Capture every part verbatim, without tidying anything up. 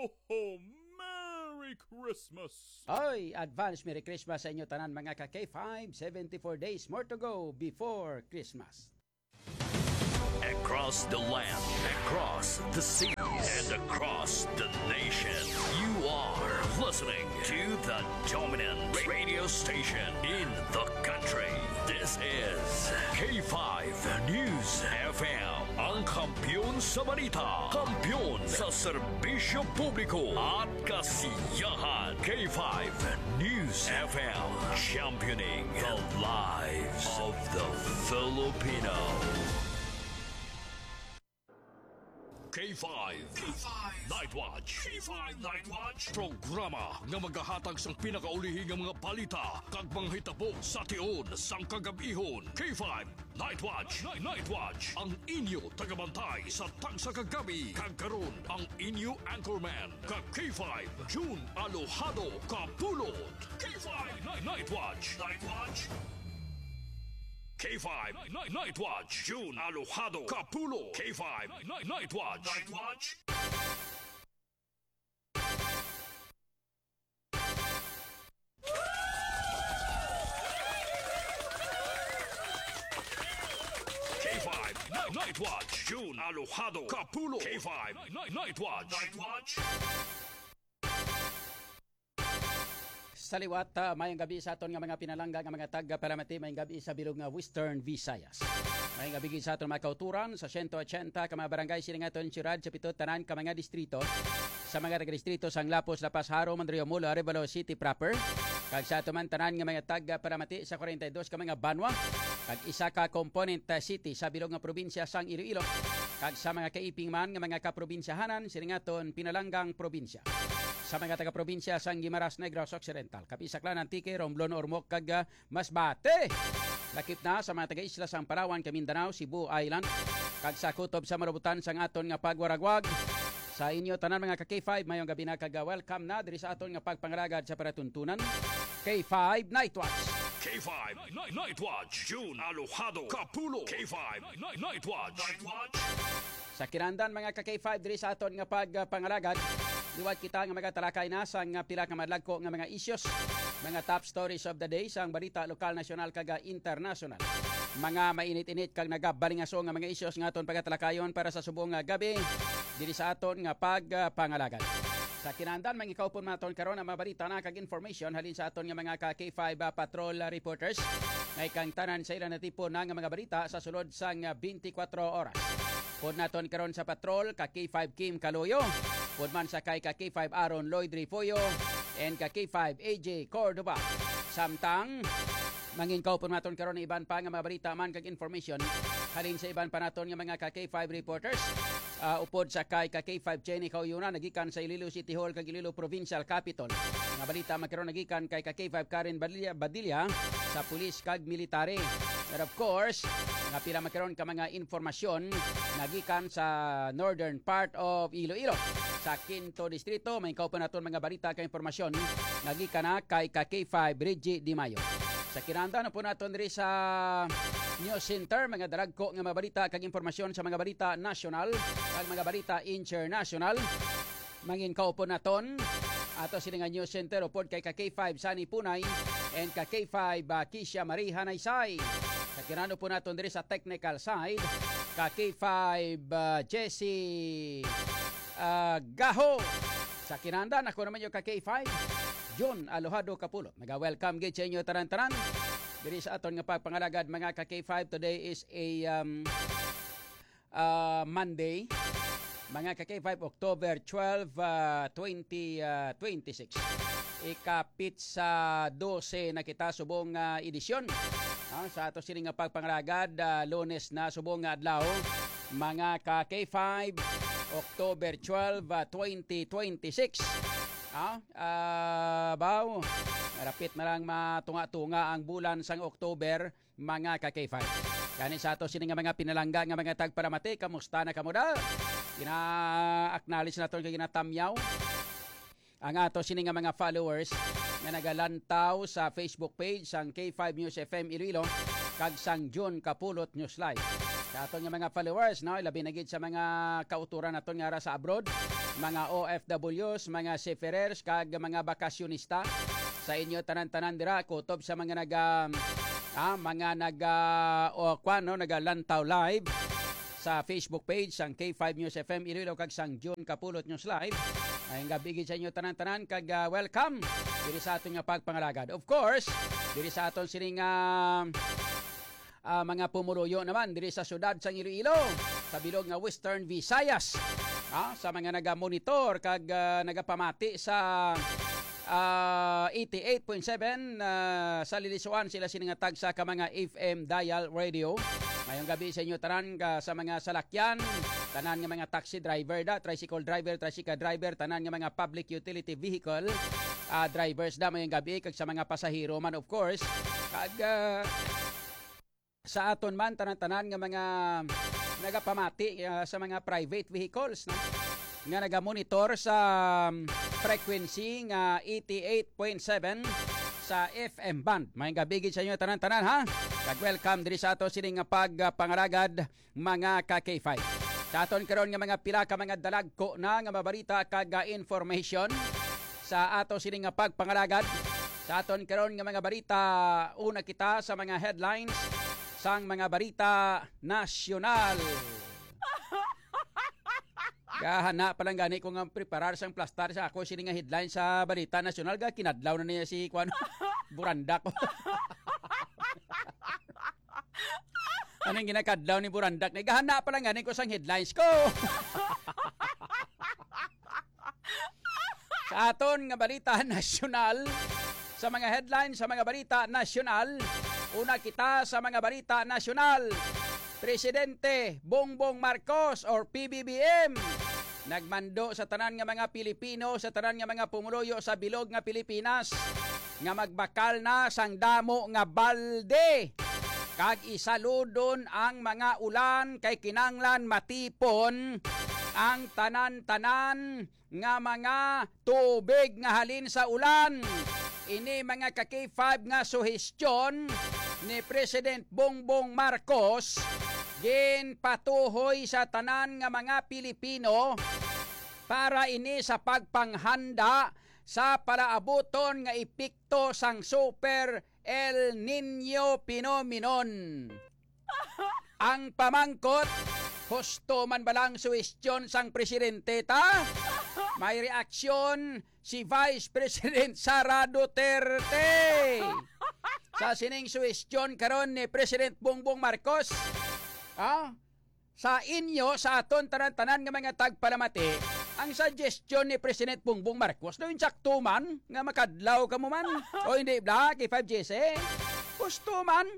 Ho, ho! Merry Christmas! Oy, advance Merry Christmas sa inyo tanan, mga ka K five. Seventy-four days more to go before Christmas. Across the land, across the seas, and across the nation, you are listening to the dominant radio station in the country. This is K five News F M, ang kampiyon sa balita, kampiyon sa serbisyo publiko at kasiyahan. K five News F M, championing the lives of the Filipino. K five Night Watch. K five Night Watch. Programa nga magahatag sang pinakaulihi nga mga balita kag mga hitabo sa tion sang kagab-ihon. K five Night Watch. Night, Night Watch. Ang inyo tagabantay sa tagsa ka gabi. Kag karon, ang inyo anchorman, ka K five, June Alojado Kapulot. K five Night, Night Watch. Night Watch. K five Night, Night Watch. June Alojado Kapulot. K five Night, Night Watch. Night Watch. K five Night, Night Watch. June Alojado Kapulot. K five Night, Night Watch. Night Watch. Sa liwat, ah, mayong gabi sa aton nga mga pinalangga nga mga taga-Paramati, mayong gabi sa bilog nga Western Visayas. Mayong gabi gid sa aton mga kauturan sa siyento ochenta ka mga barangay sining aton siyudad, sa pito tanan ka mga distrito, sa mga taga-distrito sang Lapuz, La Paz, Jaro, Mandaluyong-Molo, Arevalo City proper, kag sa aton man tanan nga mga taga-Paramati sa kwarenta y dos ka mga banwa, kag isa ka component, ah, city sa bilog nga probinsya sang Iloilo, kag sa mga kaiping man nga mga kaprobinsyahanan sining aton pinalanggang probinsya. Sa mga taga-probinsya sang Guimaras, Negros Occidental, Capiz, Aklan, Antique, Romblon, Ormoc, kag, ah, Masbate. Lakip na sa mga taga-isla sang Palawan, Kamindanao, Cebu Island, kag sa kutob sa malubutan sang aton nga pagwaragwag. Sa inyo tanan, mga ka K five, mayong gabi na kag, ah, welcome na diri sa aton nga pagpangalagad sa palatuntunan. K five Night Watch. K five Night, Night Watch. June Alojado Kapulot. K five Night, Night Watch. Night Watch. Sa kinahanglan, mga ka K five, diri sa aton nga pagpangalagad, liwat kita nga magatalakay na sang pila ka madlagko nga mga issues, mga top stories of the day sang balita lokal, nasyonal, kag internasyonal. Mga mainit-init kag nagabalingaso nga mga issues nga aton pagatalakayon para sa subong nga gabi diri sa aton nga pagpangalagad. Sa kinahanglan, mangikaupon naton karon ang mga balita na kag information halin sa aton nga mga ka K five, ah, patrol, ah, reporters. May kang tanan sa ila natipon na nga mga balita sa sulod sang, ah, twenty-four oras. Pud naton karon sa patrol, ka K five Kim Kaloyo. Pud man sa kay ka K five Aaron Lloyd Refollo and ka K five A J Cordova. Samtang, mangin kaupon naton karon ang iban pa nga mga balita man kag information halin sa iban pa naton nga mga ka K five reporters. Ah, upod sa kay ka K five Jenny Kauyona, nagikan sa Iloilo City Hall kag Iloilo Provincial Capitol. Mga balita magkaron nagikan kay ka K five Karen Badilla, Badilla sa pulis kag military. And of course, mga pila magkaron ka mga informasyon nagikan sa northern part of Iloilo. Sa Quinto Distrito, may kaupan naton mga balita kag impormasyon nagikan na kay ka K five Reggie Di Mayo. Sa kinahanglan po naton diri sa News Center, mga dalagko nga mga balita kag impormasyon sa mga balita nasyonal kag mga balita internasyonal. Mangin kaupon naton ato sini nga News Center upod kay ka K five Sunny Punay and ka K five, ah, Kisha Marie Hanaysay. Sa kinano po naton diri sa technical side, ka K five, ah, Jesse, ah, Gaho. Sa kinahanglan, ako naman yung ka K five, John Alojado Kapulot. Naga-welcome gid sa inyo tanan-tanan diri sa aton nga pagpangalagad, mga ka K five. Today is a, um, ah, Monday, mga ka K five, October twelve, ah, twenty, ah, twenty-six. Ikapit sa dose na kita subong, ah, edisyon, ah, sa ato sini nga pagpangalagad, ah, Lunes na subong nga adlaw, mga ka K five, October twelve, ah, twenty twenty-six. Ah, ah, baw, rapit na lang matunga-tunga ang bulan sang October, mga ka K five. Gani sa ato sini nga mga pinalangga nga mga tagpalamati, kamusta na kamo da? Gina-acknowledge naton kag ginatamyaw ang ato sini nga mga followers nga nagalantaw sa Facebook page sang K five News F M Iloilo kag sang June Kapulot News Live. Sa aton nga mga followers, no, labi na gid sa mga kauturan naton nga ara sa abroad, mga O F Ws, mga seafarers, kag mga bakasyonista, sa inyo tanan-tanan dira, kutob sa mga naga, ah, mga naga, o kwan, no, nagalantaw live sa Facebook page sang K five News F M Iloilo kag sang June Kapulot News Live. Maayong gabi gid sa inyo tanan-tanan kag, ah, welcome diri sa aton nga pagpangalagad. Of course, diri sa aton sining, ah, ah, mga pumuluyo naman diri sa siyudad sang Iloilo, sa bilog nga Western Visayas. Ah, sa mga nagamonitor kag, ah, nagapamati sa, ah, eighty-eight point seven, ah, sa lilisuan sila sini nga tagsa ka mga F M dial radio. Mayong gabi sa inyo tanan ka, sa mga salakyan, tanan nga mga taxi driver da, tricycle driver, tricycle driver, tanan nga mga public utility vehicle, ah, drivers da, mayong gabi kag sa mga pasahero man, of course. Kag, ah, sa aton man tanan-tanan nga mga nagapamati, ah, sa mga private vehicles, no, nga nagamonitor sa, um, frequency nga eighty-eight point seven sa F M band. Maayong gabi gid sa inyo tanan-tanan, ha. Kag welcome diri sa ato sini nga pagpangalagad, mga ka K five. Sa aton karon nga mga pila ka mga dalagko na nga mabarita kag, ah, information sa ato sini nga pagpangalagad. Sa aton karon nga mga barita, una kita sa mga headlines sang mga barita nasyonal. Gahana pa lang gani ko nga preparar sang plastar sa ako sini nga headline sa balita nasyonal, ga kinadlaw na niya si kwan, Burandak. Anong ginakadlaw ni Burandak? Nagahana pa lang gani ko sang headlines ko. Sa aton nga balita nasyonal, sa mga headlines sa mga balita nasyonal, una kita sa mga balita nasyonal. Presidente Bongbong Marcos or P B B M nagmando sa tanan nga mga Pilipino, sa tanan nga mga pumuluyo sa bilog nga Pilipinas, nga magbakal na sang damo nga balde kag isaludon ang mga ulan, kay kinanglan matipon ang tanan-tanan nga mga tubig nga halin sa ulan. Ini mga ka K five nga suhestyon ni President Bongbong Marcos ginpatuhoy sa tanan nga mga Pilipino para ini sa pagpanghanda sa palaabuton nga epekto sang Super El Niño phenomenon. Ang pamangkot, husto man ba lang suwestyon sang presidente ta? May reaksyon si Vice President Sara Duterte sa sining suwestyon karon ni President Bongbong Marcos. Ah, sa inyo, sa aton tanan-tanan nga mga tagpalamati, ang suggestion ni President Bongbong Marcos, daw insakto man nga makadlaw ka mo man. O hindi, bla, kay five G C? Gusto man,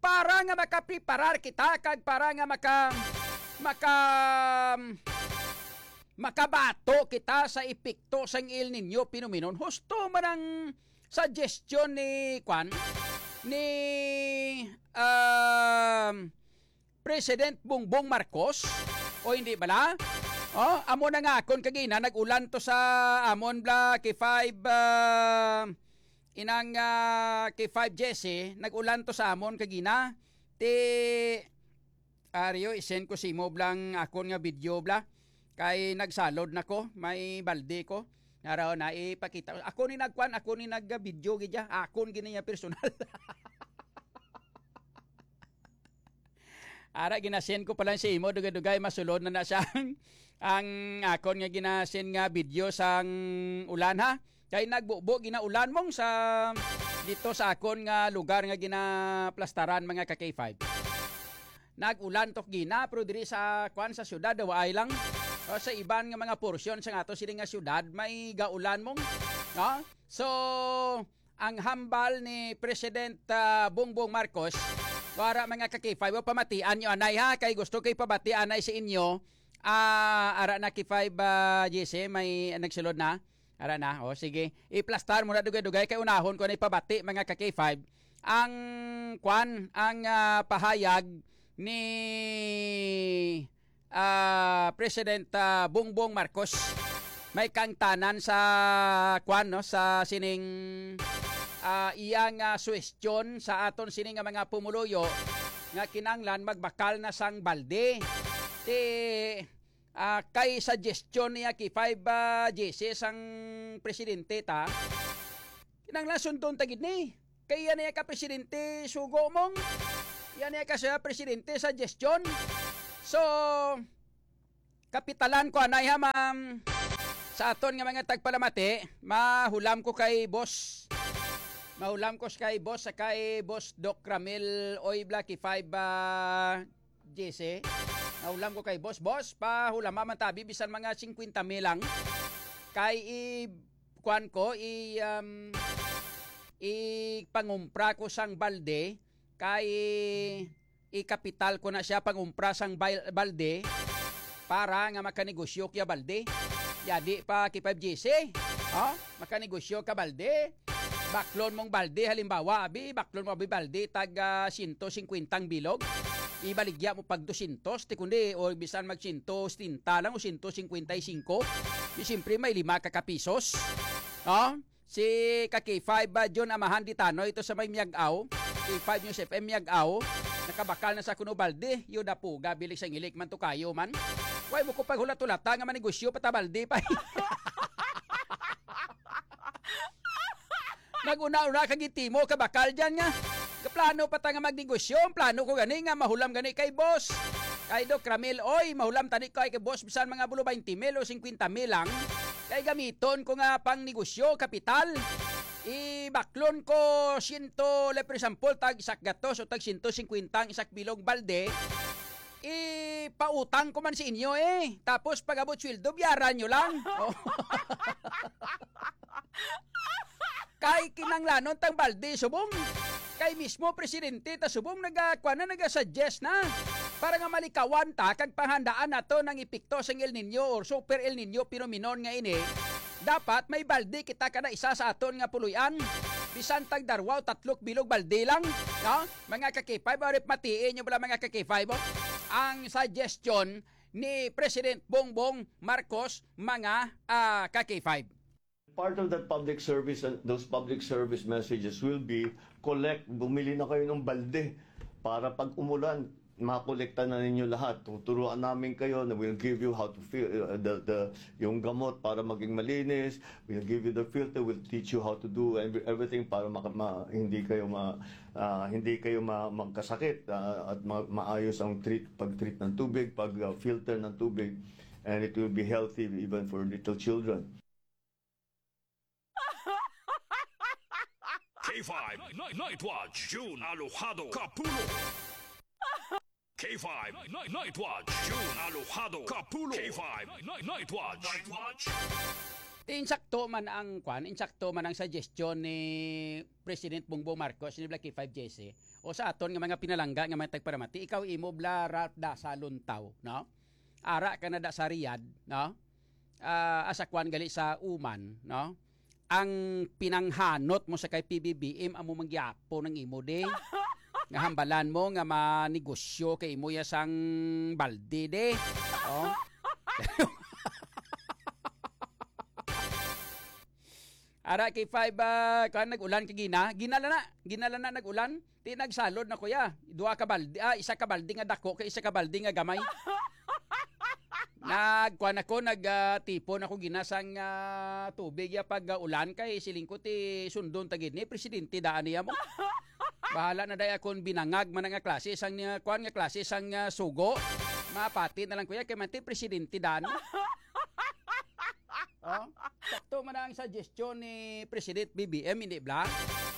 para nga makapreparar kita kag para nga maka, maka, makabato kita sa epekto sang El Niño phenomenon. Husto man ang suggestion ni, kwan, ni, um, President Bongbong Marcos, o hindi bala? Oh, amo na nga akon kagina, nag-ulan to sa amon bla kay five, ah, inang, ah, kay five Jesse, nag-ulan to sa amon kagina. Ti, Ario, isend ko si mo blang akon nga video bla. Kay nagsalod na ko, may balde ko. Naraw na ipakita. Ako ni nagkuan, ako ni nag-video gid ya. Akon gini niya personal. Ara, ginasend ko pa lang sa imo, dugay-dugay, masulod na na siya ang, ang akon nga ginasend nga video sang ulan, ha? Kay nagbubo, ginaulan mong sa dito sa akon nga lugar nga ginaplastaran, mga ka K five. Nag-ulan tok gina, pero diri sa, kwan, sa syudad, waay lang. O, sa iban nga mga porsyon sa ato sini nga syudad, may gaulan mong, no? So, ang hambal ni President, ah, Bongbong Marcos, wara, mga ka K five, o, pamatian nyo anay, ha, kay gusto kay pabati anay sa inyo. Ah, ara na, K five, ah, G C, may nagsulod na. Ara na, o, sige. Iplastar mo na dugay-dugay kay unahon ko na ipabati, mga ka K five. Ang, kwan, ang, ah, pahayag ni ah, President, ah, Bongbong Marcos. May kangtanan sa, kwan, no, sa sining, ah, iya nga suwestyon sa aton sini nga mga pumuluyo nga kinanglan magbakal na sang balde. Ti, ah, kay suggestion niya kay five, ah, J C sang presidente ta. Kinahanglan sundon ta gid ni. Kay iya niya ka presidente sugo mong. Iya niya ka siya presidente suggestion. So, kapitalan ko anay ha, ma'am. Sa aton nga mga tagpalamati, mahulam ko kay boss. Mahulam ko kay boss sa kay boss Doc Ramil Oy Blacky five, ah, J C. Nahulam ko kay boss. Boss, pahulama man tabi bisan mga singkwenta mil lang. Kay i-, kuan ko, i, um, ipangumpra ko sang balde, kay ikapital ko na siya pangumpra sang bal-, balde para nga makanegosyo kaya balde. Yadi pa kay five G C. Ha? Makanegosyo ka balde. Baklon mong balde, halimbawa, abi, baklon mo abi balde, tag, ah, siyento singkwenta ang bilog. Ibaligya mo pag dosyentos, ti kundi, o bisan mag siyento setenta lang o siyento singkwenta y singko. Di siyempre may lima ka kapisos. Ha? Si ka K five ba, John Amahan Ditano, ito sa may Miag-aw. K five News F M Miag-aw. Nakabakal na sa kuno balde. Yo dapuga, bilik sang ilik man to kayo man. Way mo ko paghulat-hulata nga manegosyo pa ta balde pa. Nag-una-una ka gitimo ka bakal dyan nga. Kaplano pa ta nga magnegosyo. Ang plano ko gani nga mahulam gani kay boss. Kay Doc Ramil, oy, mahulam tani kay, kay boss, bisan mga bulo twenty mil o singkwenta mil lang. Kay gamiton ko nga pang negosyo, kapital. Ibaklon ko siyento, like, for example, tag isa ka gatos o tag siyento singkwenta ang isa ka bilog balde. Ipautang ko man sa inyo eh. Tapos pag-abot sweldo, biyaran nyo lang. Oh. Kay kinanglanon tang balde subong. Kay mismo presidente ta subong nagakuan na, nagasuggest na para nga malikawan ta kag panghandaan nato nang epekto sang El Niño or Super El Niño phenomenon nga ini. Dapat may balde kita kada isa sa aton nga puloy-an. Bisan tag darwa o tatlok bilog balde lang, no? Mga ka-K five, or if matiin nyo bala, mga ka-K five, oh, ang suggestion ni President Bongbong Marcos, mga, ah, ka-K five. Part of that public service, uh, those public service messages will be, collect, bumili na kayo ng balde para pag umulan, makolekta na ninyo lahat. Tuturuan namin kayo na we'll give you how to fil-, uh, the, the, yung gamot para maging malinis. We'll give you the filter. We'll teach you how to do every-, everything para maka-, ma-, hindi kayo ma-, ah, hindi kayo ma-, magkasakit, ah, at ma-, maayos ang treat, pag-treat ng tubig, pag, ah, filter ng tubig. And it will be healthy even for little children. K five Night, Night Watch, June Alojado Kapulo. K five Night, Night Watch, June Alojado Kapulo. K five Night, Night Watch. Night Watch. Ti insakto man ang kwan, insakto man ang suggestion ni President Bongbong Marcos ni Blacky five J C. O sa aton nga mga pinalangga nga mga tagparamati, ikaw imo bla Ralph Dasa Luntaw, no? Ara ka na da sa Riyadh, no? Ah, asa kwan gali sa Oman, no? Ang pinanghanot mo sa kay P B B M amo manggyapo ng imo di. Nga hambalan mo nga manegosyo kay imo ya sang balde di. Oh. Ara kay five, ah, kan nag-ulan kay gina, ginala na, ginala na nag-ulan. Ti nagsalod na, kuya. Duha ka balde, ah, isa ka balde nga dako kay isa ka balde nga gamay. Nagkuan ako, nag, ah, tipon ako ginasang, ah, tubig ya pag, ah, ulan kay siling ko ti sundon ta gid ni presidente daan niya mo. Bahala na day akon binangag man nga klase sang, ah, kuan nga klase sang, ah, sugo. Mapati na lang, kuya, kay man ti presidente daan. Oh, sakto man ang suggestion ni President B B M, hindi bla?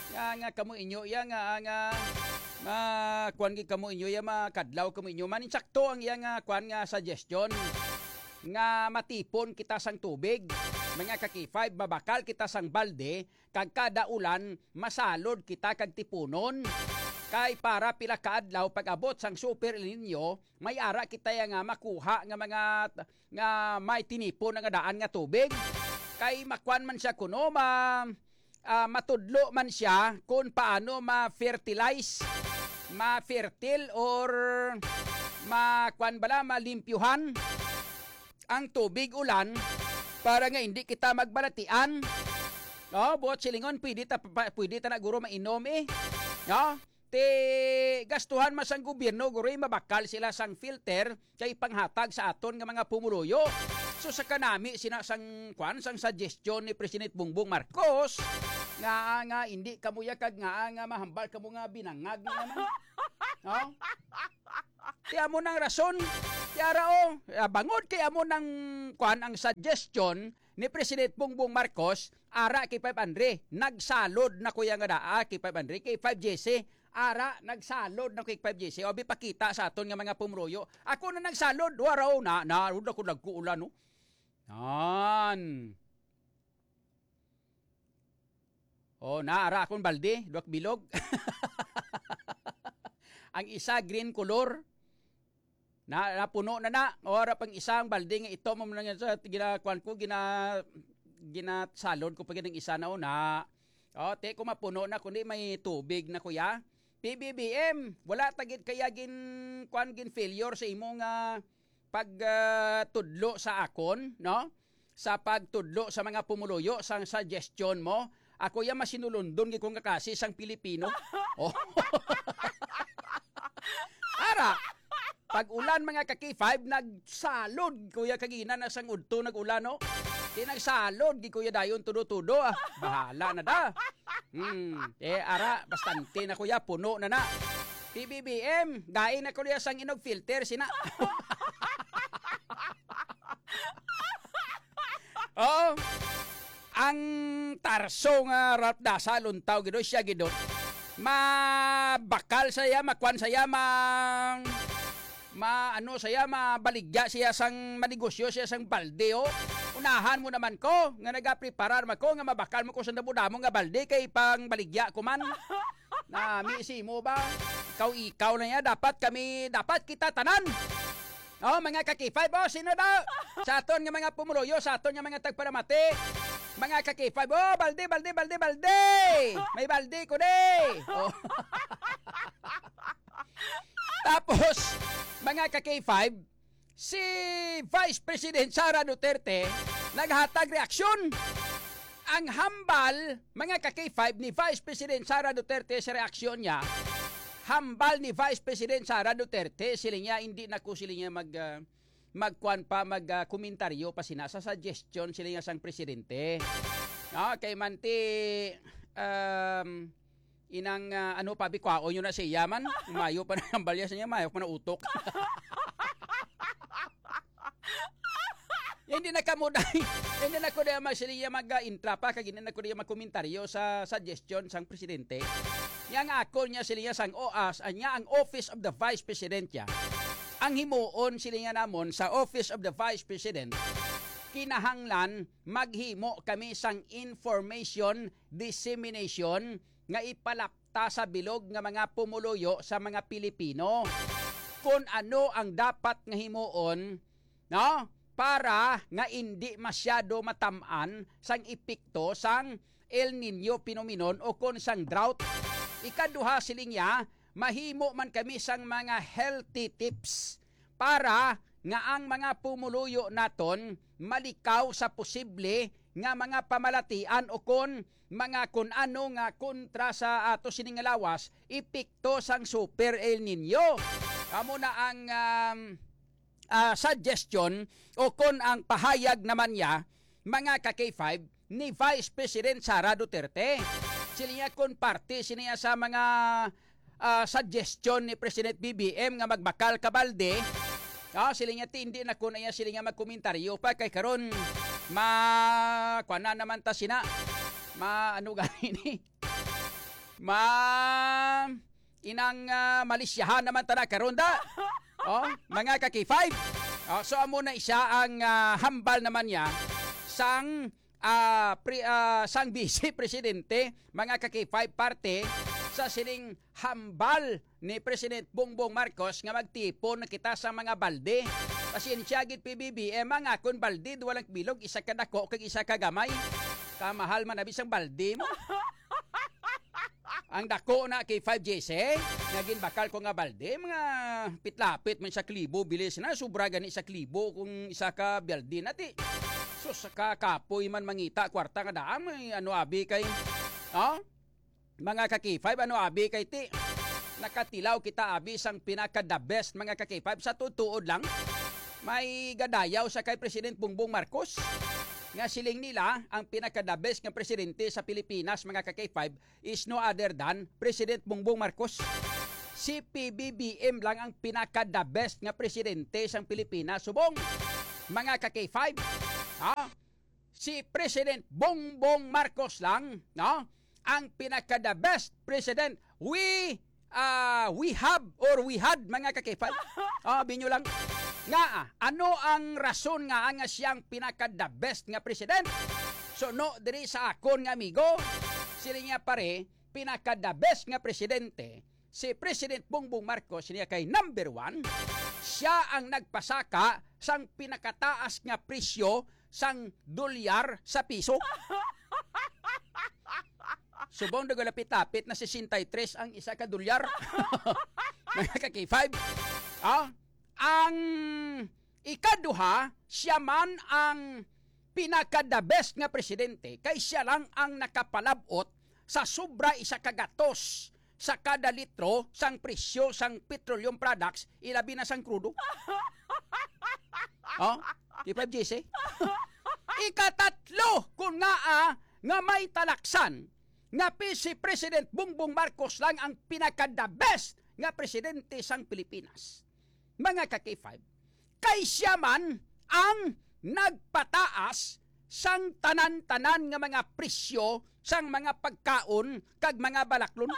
Nga, nga kamo inyo iya nga, nga, nga, kuan gid kamo inyo iya, makadlaw kamo inyo. Man, insakto ang iya nga, kuan nga suggestion nga matipon kita sang tubig. Mga ka-K five, mabakal kita sang balde, kag kada ulan, masalod kita kag tipunon. Kay para pila ka adlaw pag-abot sang Super El Niño, may ara kita ya nga makuha nga mga, nga may tinipon nga daan nga tubig. Kay makuan man siya kuno, ma-, ah, matudlo man siya kung paano ma-fertilize, ma-fertile, or ma-, kuan bala, malimpyuhan ang tubig ulan para nga hindi kita magbalatian. No, buot silingon, pwede ta pa, pwede ta na guro mainom eh. No? Ti gastuhan man sang gobyerno, guroy, mabakal sila sang filter kay panghatag sa aton nga mga pumuluyo. So, sa kanami sina sang, kwan, sang suggestion ni President Bongbong Marcos, nga, nga hindi kamo ya kag nga, nga mahambal kamo nga binangag na naman. No? Ti amo nang rason. Ti ara, oh, ah, bangod kay amo nang, kwan, ang suggestion ni President Bongbong Marcos, ara kay five hundred. Nagsalod na kuya nga daa kay five hundred, kay five J C. Ara, nagsalod na kay five J C. Abi, pakita sa aton nga mga pumuluyo. Ako na nagsalod, waraw na, na, wala ko nagkuulan, no? Yan. Oh, na, ara akong balde, duwak bilog. Ang isa, green color. Na, napuno na na. O, ara pang isang balde nga ito, mo na nga sa ginakuan ko, gina-, ginasalod ko pa gid ang isa na una. O, te, kung mapuno na, kundi may tubig na, kuya. P B B M, wala ta gid kaya gin, kuan, gin failure sa imo nga pag, ah, tudlo sa akon, no? Sa pagtudlo sa mga pumuluyo, sang suggestion mo, ako ya masinulundon gid ko nga kasi sang Pilipino. Oh. Ara, pag ulan, mga ka-K five, nagsalod, kuya, kagina na sang udto nag-ulan, no? Di nagsalod, di kuya dayon tudo-tudo, ah. Bahala na da. Hmm, eh, ara, bastante na, kuya, puno na na. P B B M, gain na, kuya, sang inog filter, sina. Oh, ang tarso nga Ralph Daza, luntaw gid, siya gid, mabakal saya, makuan saya, ma, ma, ano saya, mabaligya siya sang manegosyo siya sang balde, oh. Unahan mo naman ko, nga nagapreparar man ko, nga mabakal mo ko sa damo-damo nga balde, kay pang baligya ko man. Nami si mo ba? Ikaw, ikaw na niya. Dapat kami, dapat kita tanan. Oh, mga ka-K five, oh, sino daw? Sa aton nga mga pumuluyo, sa aton nga mga tagpalamati. Mga ka-K five, oh, balde, balde, balde, balde. May balde ko di. Oh. Tapos, mga ka-K five, si Vice President Sara Duterte naghatag reaksyon. Ang hambal, mga ka-K five, ni Vice President Sara Duterte sa reaksyon niya, hambal ni Vice President Sara Duterte, siling niya, hindi na ko, siling niya, mag, ah, magkuan pa, mag, ah, komentaryo pa sina sa suggestion, siling niya, sang presidente. Ah, kay manti, um, inang, ah, ano pa, bikwaon nyo na siya man. Mayo pa na ang balya sa niya, mayo pa na utok. Hindi na kamo dai, hindi na ko dai mag-, siling niya mag-, ah, intra pa, kag hindi na ko dai magkomentaryo sa suggestion sang presidente. Yang ako niya, siling niya, sang O A S, anya ang Office of the Vice President ya. Ang himuon, siling niya, namon sa Office of the Vice President, kinahanglan maghimo kami sang information dissemination nga ipalapta sa bilog nga mga pumuluyo sa mga Pilipino, kon ano ang dapat nga himuon, no? Para nga indi masyado matam-an sang epekto sang El Niño phenomenon o kon sang drought. Ikaduha, siling niya, mahimo man kami sang mga healthy tips para nga ang mga pumuluyo naton malikaw sa posible nga mga pamalatian o kon mga kun ano nga kontra sa ato sini nga lawas, epekto sang Super El Niño. Amo na ang, um, ah, suggestion o kon ang pahayag naman niya, mga ka-K five, ni Vice President Sara Duterte. Sila niya kon parte siniya sa mga, ah, suggestion ni President B B M nga magbakal ka balde. Ah, sila niya, ti, hindi na ko na iya sila niya magkomentaryo pa kay karon ma, kuan na naman ta sina. Ma, ano gani ni? Ma, inang, ah, malisyahan naman ta na karon da. Oh, mga ka-K five. Oh, so amo na isa ang, ah, hambal naman niya sang, ah, pre-, ah, sang Vice Presidente, mga ka-K five, parte sa sining hambal ni President Bongbong Marcos nga magtipon na kita sa mga balde. Pasensya gid, P B B M, ang akon balde, duha lang bilog, isa ka dako kag isa ka gamay. Kamahal man abi sang balde mo. Ang dako na kay five J C, nga ginbakal ko nga balde, mga pitlapit man sa klibo, bilis na, sobra gani sa klibo kung isa ka balde na, ti. Sus, sa ka kapoy man mangita, kwarta nga daan, may ano abi kay, oh? Mga ka-K five, ano abi kay ti? Nakatilaw kita abi sang pinaka the best, mga ka-K five. Sa tuod-tuod lang, may gadayaw sa kay President Bongbong Marcos nga siling nila ang pinaka the best nga presidente sa Pilipinas, mga ka-K five, is no other than President Bongbong Marcos. Si P B B M lang ang pinaka the best nga presidente sang Pilipinas. Subong, mga ka-K five, ha? Si President Bongbong Marcos lang, no? Ang pinaka the best president we, ah, we have or we had, mga ka-K five. Ah, binyo lang. Nga, ah, ano ang rason nga, nga siyang pinaka the best nga president? So, no, diri sa akon nga amigo, sila niya pare, pinaka the best nga presidente, si President Bongbong Marcos niya kay number one, siya ang nagpasaka sang pinakataas nga presyo sang dolyar sa piso. Subong daw lapit-lapit na sesenta y tres ang isa ka dolyar. Mga ka-K five. Ah, ang ikaduha, siya man ang pinaka the best nga presidente, kay siya lang ang nakapalab-ot sa sobra isa ka gatos sa kada litro sang presyo sang petroleum products, ilabi na sang krudo. Oh, di ba, J C? Ikatatlo, kun nga, ah, nga may talaksan nga pi-, si President Bongbong Marcos lang ang pinaka the best nga presidente sang Pilipinas. Mga ka-K five, kay siya man ang nagpataas sang tanan-tanan nga mga presyo sang mga pagkaon kag mga balaklon.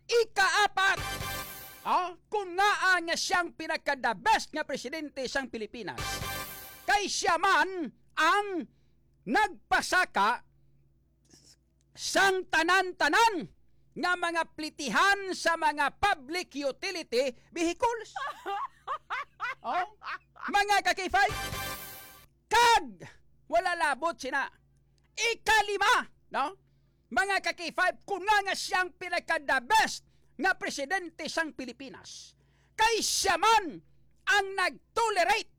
Ikaapat, ah, kun ngaa nga siyang pinaka the best nga presidente sang Pilipinas, kay siya man ang nagpasaka sang tanan-tanan nga mga plitihan sa mga public utility vehicles. Oh, mga ka-K five, kag wala labot sina. Ikalima, no? Mga ka-K five, kun nga nga siyang pinaka the best nga presidente sang Pilipinas, kay siya man ang nag-tolerate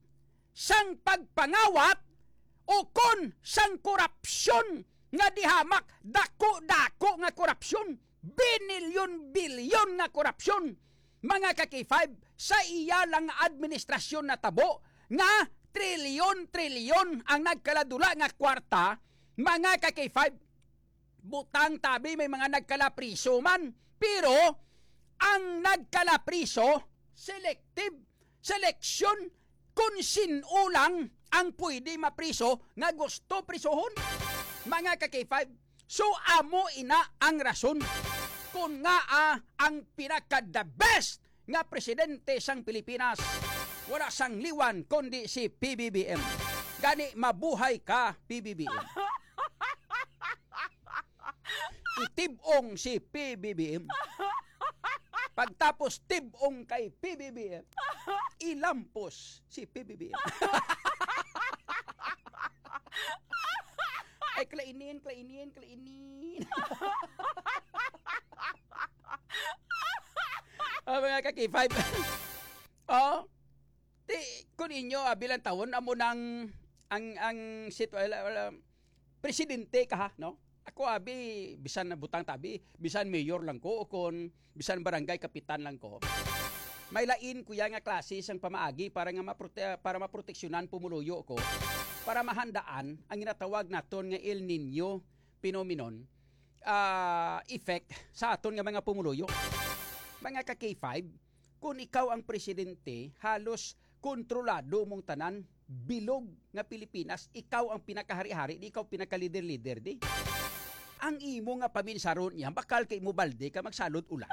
sang pagpangawat ukon sang korupsyon nga dihamak, dako-dako nga korupsyon, binilyon-bilyon nga korupsyon, mga ka-K five, sa iya lang nga administrasyon natabo nga trilyon-trilyon ang nagkaladula nga kwarta, mga ka-K five. Butang tabi, may mga nagkalapriso man, pero ang nagkalapriso, selective selection, kung sin-o lang ang pwede mapriso nga gusto prisuhon, mga ka-K five. So, amo ina ang rason kung ngaa ang pinaka the best nga presidente sang Pilipinas, wala sang liwan kundi si P B B M. Gani, mabuhay ka, P B B M. Itib-ong si P B B M. Pagtapos tib-ong kay P B B M, ilampos si P B B M. Ay, klainin, klainin, klainin. Ah, mga ka-K five. Oh, ti, kun inyo, ah, bilang taon, amo nang ang, ang sitwa-, wala, wala, presidente ka, ha, no? Ako, abi, bisan na butang tabi, bisan mayor lang ko, o kon bisan barangay kapitan lang ko. May lain ko ya nga klase sang pamaagi para nga maprote-, para maproteksyonan pumuluyo ko, para mahandaan ang ginatawag naton nga El Niño phenomenon, ah, effect sa aton nga mga pumuluyo. Mga ka-K five, kung ikaw ang presidente, halos kontrolado mong tanan. Bilog nga Pilipinas, ikaw ang pinakahari-hari, di ikaw pinakalider-lider, di. Ang imo nga paminsaron niya, bakal kay mo balde ka magsalod ulan.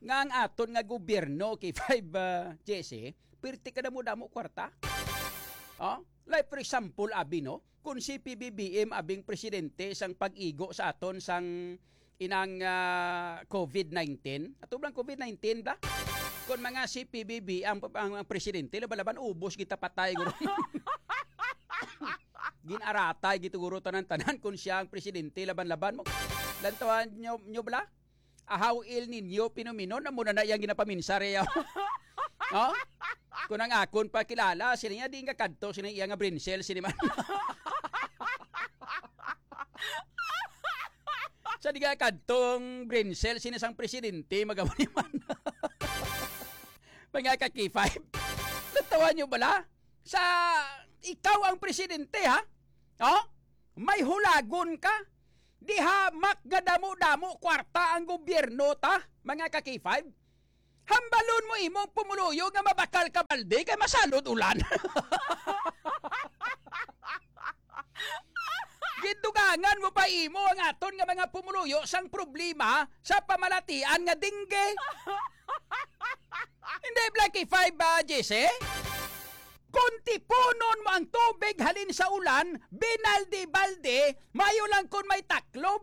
Nga ang aton nga gobyerno, K five, ah, J C, pirti ka damo-damo kwarta. Oh? Like, for example, abi, no? Kung si P B B M abing presidente sang pag-igo sa aton sang inang, ah, covid nineteen. Ato bang covid nineteen ba? Kung mga si P B B ang, ang, ang presidente, laban-laban, ubos kita patay, guro. Ginaratay gito, guro, tanan-tanan kung siya ang presidente, laban-laban mo. Lantawan nyo, nyo bala? Ahaw, El Niño phenomenon, amo na na iyang ginapaminsar, eh, oh. No? Kung ang akon pa kilala, sila niya, di nga kadto, sila iya nga brain cell, sila man. Sa diga kadtong brain cell, sini sang presidente, magawa ni man. Mga ka-K five, natawan nyo bala? Sa ikaw ang presidente, ha? Oh? May hulagon ka? Diha mak nga damo-damo kwarta ang gobyerno ta, mga ka-K five? Hambalon mo imong pumuluyo nga mabakal ka balde kay masalod ulan. Gindugangan mo pa imo ang aton nga mga pumuluyo sang problema sa pamalatian nga dingge. Hindi, Blacky Five, ah, Jesse? Kung tipunon mo ang tubig halin sa ulan, binaldi-baldi, mayo lang kung may taklob.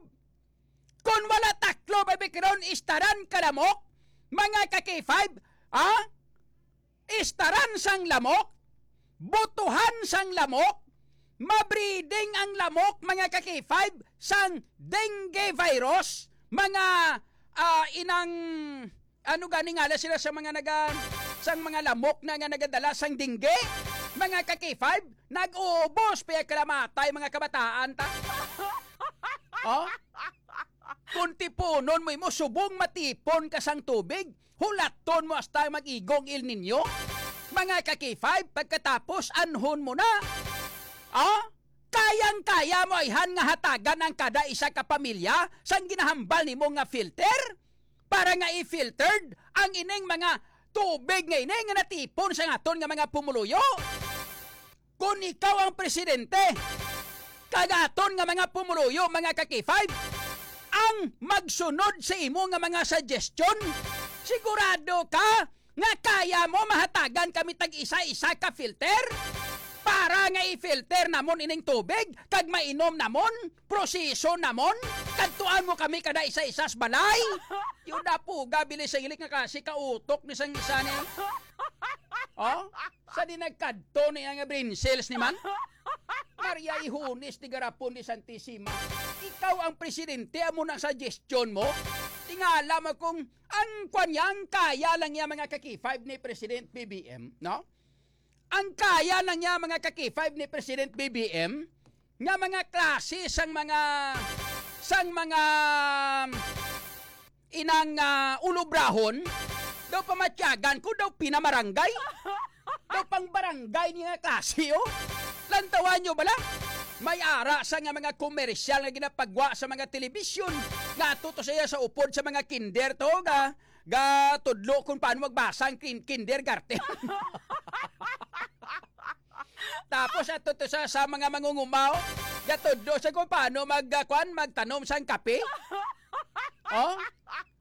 Kung wala taklob, ay karon istaran ka lamok, mga ka-K five, ha? Istaran sang lamok, butuhan sang lamok, mabreeding ang lamok, mga ka-K five, sang dengue virus, mga, ah, inang, ano gani nga sila sa mga naga-, sang mga lamok na nga nagadala sang dengue, mga ka-K five, nag-uubos pa kalamatay mga kabataan ta. Oh? Kung tipunon mo imo, subong matipon ka sang tubig, hulaton mo hasta mag-igong El Niño. Mga ka-K five, pagkatapos, anhon mo na. Ah? Kayang-kaya mo ayhan nga hatagan ang kada isa ka pamilya sang ginahambal nimo nga filter? Para nga i-filtered ang ining mga tubig nga ini nga natipon sa aton nga mga pumuluyo? Kung ikaw ang presidente, kag aton nga mga pumuluyo, mga ka-K five, ang magsunod sa imo nga mga suggestion, sigurado ka nga kaya mo mahatagan kami tag isa-isa ka filter? Para nga i-filter namon ining tubig kag mainom namon, proseso namon, kadtuan mo kami kada isa-isa sa balay. Yun na po, gabili sa ilik nga kasi kautok ni sang isa ni. Oh? Sa di nagkadto niya nga brain cells ni man? Maria Ihones ni Garapon ni Santisima. Ikaw ang presidente, amo na ang suggestion mo? Tingala mo kung ang kwan niya, ang kaya lang niya, mga ka-K five, ni President B B M, no? Ang kaya lang niya, mga ka-K five, ni President B B M, nga mga klase sang mga, sang mga inang, ah, ulobrahon, daw pamatyagan ko, daw pinamarangay. Daw pang barangay niya nga klase, oh. Lantawan nyo bala? May ara sa nga mga komersyal nga ginapagwa sa mga telebisyon nga ato to siya sa upod sa mga kinder to, ga, ga tudlo kung paano magbasa ang kin-, kindergarten. Tapos ato to sa, sa mga mangungumaw, ga tudlo sa kung paano mag, ah, kwan, magtanom sang kape. Oh?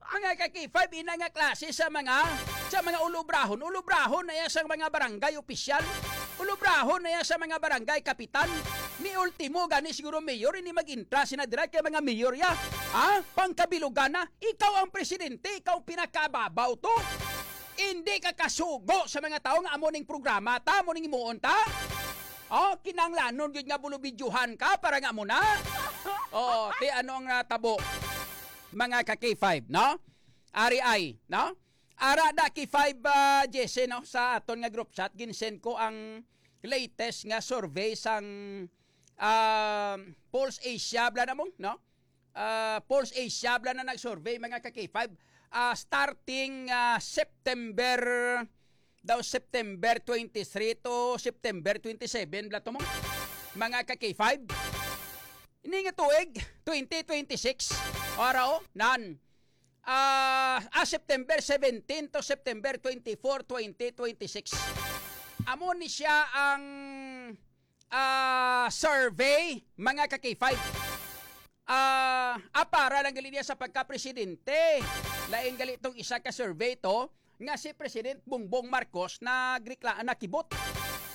Mga ka-K five, ina nga klase sa mga, sa mga ulobrahon. Ulobrahon na iya sa mga barangay opisyal. Ulobrahon na iya sa mga barangay kapitan. Ni ultimo gani siguro mayor, hindi mag-intra sina dira kay mga mayor ya. Ha? Pangkabilugan na. Ikaw ang presidente, ikaw pinakababaw to. Hindi ka kasugo sa mga tao nga amo ning programa ta, amo ning himuon ta. Oh, kinanglanon gyud nga bulubidyohan ka para nga mo na. Oh, ti ano ang natabo? Mga ka-K five, no? Ari ay, no? Ara da K five, ah, Jesse, no? Sa aton nga group chat, ginsend ko ang latest nga survey sang, ah, Pulse Asia, bla na mo, no? Ah, Pulse Asia, bla na nag-survey, mga ka-K five. Ah, starting, ah, September, daw September twenty-three to September twenty-seven, bla to mo, mga ka-K five. Ini nga tuig, twenty twenty-six. Ora, oh, nan. Ah, ah, September seventeen to September twenty-four, twenty twenty-six. Amo ni siya ang, ah, survey, mga ka-K five. Ah, ah, para lang gali niya sa pagka-presidente. Lain gali tong isa ka survey to, nga si President Bongbong Marcos nagrekla-, nakibot.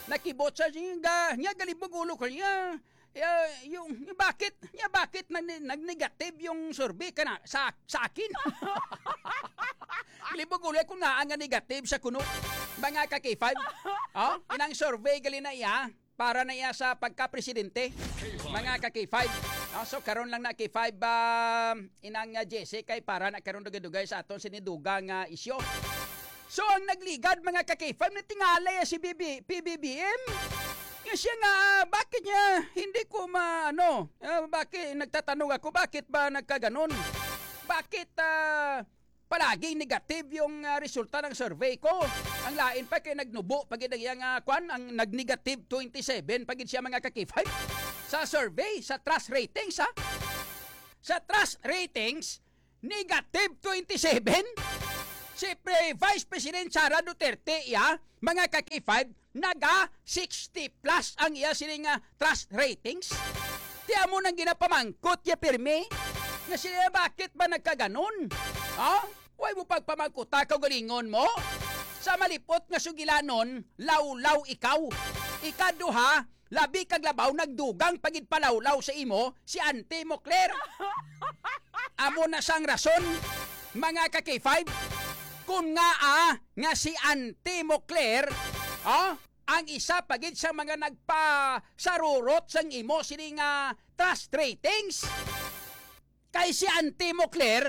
Nakibot sa nga, nga galibog ulo ko niya. Ya, yung, yung bakit, ya bakit nag-, nag-negative yung survey ka na sa, sa akin? Galibog ulo ko nga ang negative sa kuno. Mga ka-K five. Oh, inang survey gali na iya. Para na iya sa pagka-presidente, mga ka-K five. Ah, so, karon lang na K five, ah, inang, ah, Jesse, kay para na karon dugay-dugay sa aton sinidugang nga isyu. So, ang nagligad, mga ka-K five, natingala ya si B B, P B B M. Nga siya nga, ah, bakit niya hindi ko ma-, ano, ah, bakit, nagtatanong ako, bakit ba nagkaganon? Bakit, ah, palaging negative yung, ah, resulta ng survey ko? Ang lain pa kay nagnubo pa gid ang iyang, ah, kwan, ang nag-negative twenty-seven pa gid siya, mga ka-K five. Sa survey, sa trust ratings, ha? Sa trust ratings, negative twenty-seven. Si Pre-, Vice President Sara Duterte, iya, mga ka-K five, naga sixty plus ang iya sini nga trust ratings. Ti amo nang ginapamangkot niya pirmi nga sila, bakit ba nagkaganon? Ha? Way mo pagpamangkota, kaugalingon mo? Sa malipot nga sugilanon, lawlaw ikaw. Ikaduha, labi kag labaw nagdugang pa gid palawlaw sa imo si Auntie mo, Claire. Amo na sang rason, mga ka-K five, kung ngaa nga si Auntie mo, Claire, ah, ang isa pa gid sa mga nagpasarurot sang imo sini nga trust ratings. Kay si Auntie mo, Claire,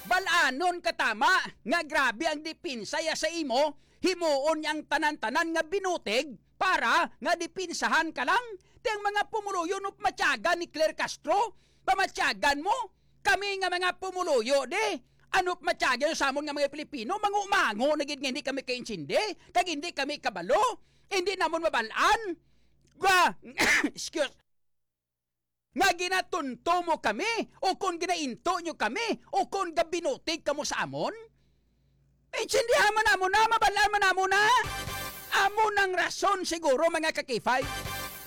bal-anon ka tama nga grabe ang depensa ya sa imo, himuon niya ang tanan-tanan nga binutig para nga depensahan ka lang. Ti ang mga pumuluyo, ano pa matyagan ni Claire Castro? Pamatyagan mo? Kami nga mga pumuluyo, di? Ano pa matyagan sa amon nga mga Pilipino? Mangumango na gid nga hindi kami kaintindi, kag hindi kami kabalo, hindi namon mabal-an. Ga-, excuse, nga ginatunto mo kami, o kon ginainto nyo kami, o kon gabinutig kamo sa amon? Intindihan man namo na, mabal-an man namo na. Amo nang rason siguro, mga ka-K five,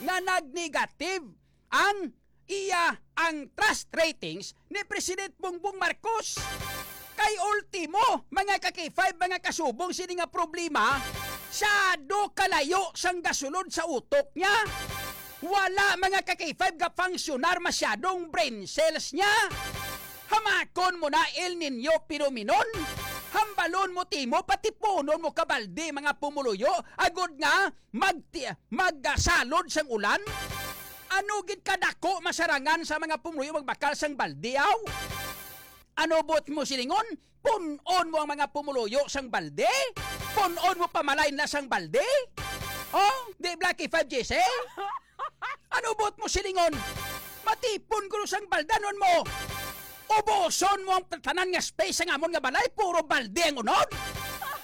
nga nag-negative ang iya, ang trust ratings ni President Bongbong Marcos. Kay ultimo, mga ka-K five, mga kasubong sini nga problema, sado kalayo sang gasulod sa utok niya. Wala, mga ka-K five, gafunksyonar masyadong brain cells niya. Hamakon mo na El Niño phenomenon. Hambalon mo, Timo, patipunon mo ka balde, mga pumuluyo, agod nga magti-, magsalod sang ulan. Ano gid kadako masarangan sa mga pumuluyo magbakal sang balde, aw? Ano buot mo silingon? Pun-on mo ang mga pumuluyo sang balde? Pun-on mo pamalain na sang balde? Oh, di Blacky Five G C? Ano buot mo silingon? Matipon ko sang baldanon mo. Ubuson mo ang tanan nga space sang amon nga balay, puro balde ang unod.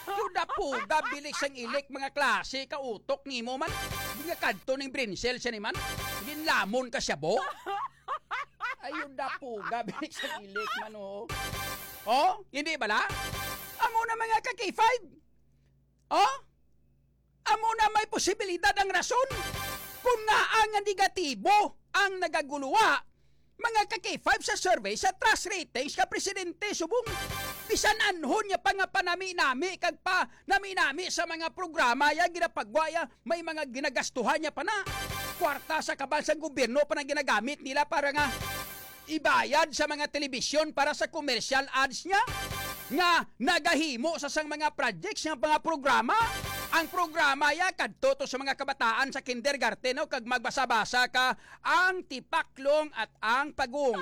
Yuda puga, bilik sang ilik, mga klase ka utok nimo man. Di nga kadto ning brinsel siya ni man. Ginlamon ka siya, bo. Ayun na puga, bilik sang ilik man, oh. Oh, hindi bala? Amo na, mga ka-K five. Oh? Amo na may posibilidad ang rason kung ngaa nga negatibo ang nagaguluwa, mga ka-K five, sa survey sa trust ratings ka presidente subong bisan anhon niya pa nga panami-nami kag pa nami-nami sa mga programa ya ginapagwa ya, may mga ginagastuhan niya pa na kwarta sa kaban sang gobyerno pa na ginagamit nila para nga ibayad sa mga telebisyon para sa commercial ads niya nga nagahimo sa sang mga projects nga mga programa. Ang programa ya kadto to sa mga kabataan sa kindergarten, no, kag magbasa-basa ka ang tipaklong at ang pagong.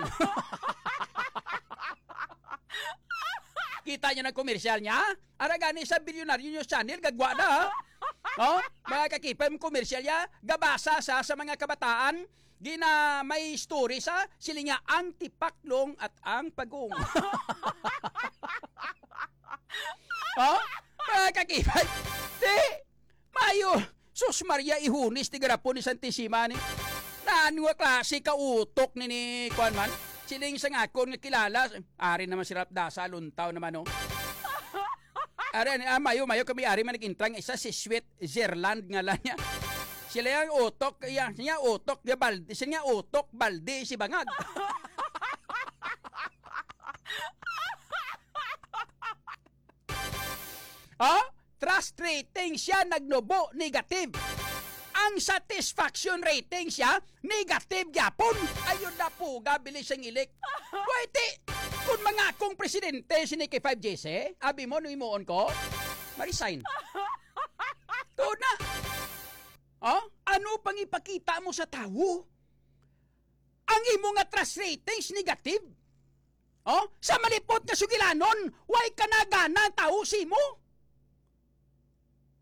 Kita niyo na commercial niya? Ara gani sa Bilyonaryo News Channel, gagwa na, ha? Oh, mga ka-K five, commercial ya, gabasa sa, sa mga kabataan, gina may story sa, sila niya ang tipaklong at ang pagong. Oh, mga ka-K five, di, mayo, sus Maria, ihunis ti garapon ni Santisima ni. Naan nga klase ka utok ni, ni, kuan man? Siling sa ngakon nga kilala, ari naman si Ralph Dasa, luntaw naman, oh. Ari, ah, mayo, mayo kami ari man nag-intra nga isa, si Sweet Zerland ngalan niya. Sila yang utok, iya, siya utok, ya balde, siya nga utok, balde, si bangag. Oh? Trust rating siya nagnubo negative. Ang satisfaction rating siya negative gyapon. Ayun na puga, bilis ang ilik. Wait, eh, kung mga akong presidente si Nikki five G C, abi mo, nung imuon ko, ma-resign. Tuod na. Oh? Ano pang ipakita mo sa tawo? Ang imo nga trust ratings negative? Oh? Sa malipot nga sugilanon, way ka na gana ang tawo sa imo?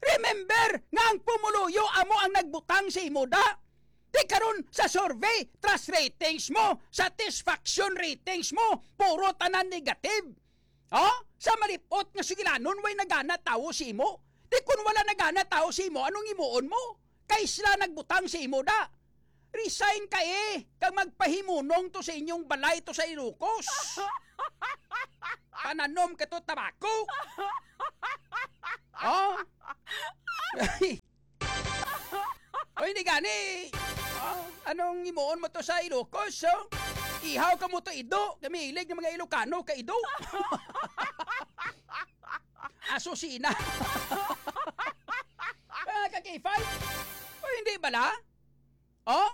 Remember nga ang pumuluyo amo ang nagbutang sa imo, da. Di karon sa survey, trust ratings mo, satisfaction ratings mo, puro tanan negative. Oh? Sa malipot nga sugilanon, way nagana tawo sa imo. Di kun wala nagana tawo sa imo, anong imuon mo? Kay sila nagbutang sa imo, da. Resign ka, eh, kag magpahimunong to sa inyong balay to sa Ilocos. Pananom ka to tabako. Oh? O, hindi gani. Oh, anong imuon mo to sa Ilocos, oh? Ihaw ka mo to ido. Kami hilig ng mga Ilocano ka ido. Asusina. Mga ka-K five? O, hindi bala? Oh?